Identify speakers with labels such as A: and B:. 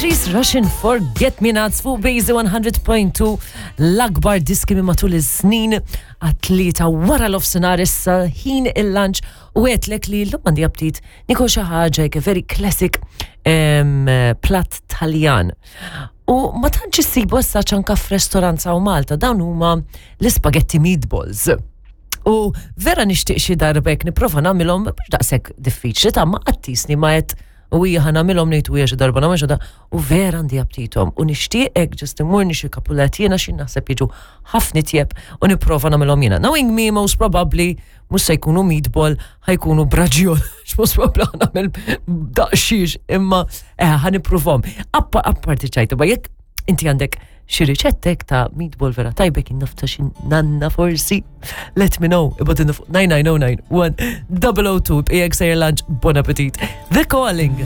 A: Patrice Russian Forget Me Nots fuq Base 100.2 l-akbar diski minn matul iż-snin għat-tlieta wara l-ofsinhar issa ħin il-lunch u għedtlek li l-lum għandi aptit nikol xi ħaġa hekk very classic platt Taljan. U ma tantx issibu issa ċanka f'restorant u Malta dawn huma l-ispagetti meatballs. U vera nixtieq xi darba jekk nipprova nagħmilhom mhux daqshekk diffiċli ta' ma qattisni ma qed u hija ħa nagħmilhom ngħid u hija xi darba nagħmel xi u vera għandi aptitom u nixtieq hekk ġust immur nixi kapulet jiena xi naħseb jiġu ħafna tjeb u nipprova nagħmilhom jiena. Knowing me most probably mhux se jkunu meatball ħa jkunu braġjol most probably ħa nagħmel daqsxiex imma eh, ħa nippruvhom. Apparti ċajta, ma jekk inti għandek xi riċettek ta' meatball vera tajbek innafta xi nanna forsi. Let me know, ibgħatilna fuq 9909 1002 b'ijek sejjer lunch, bon appetit. The Calling.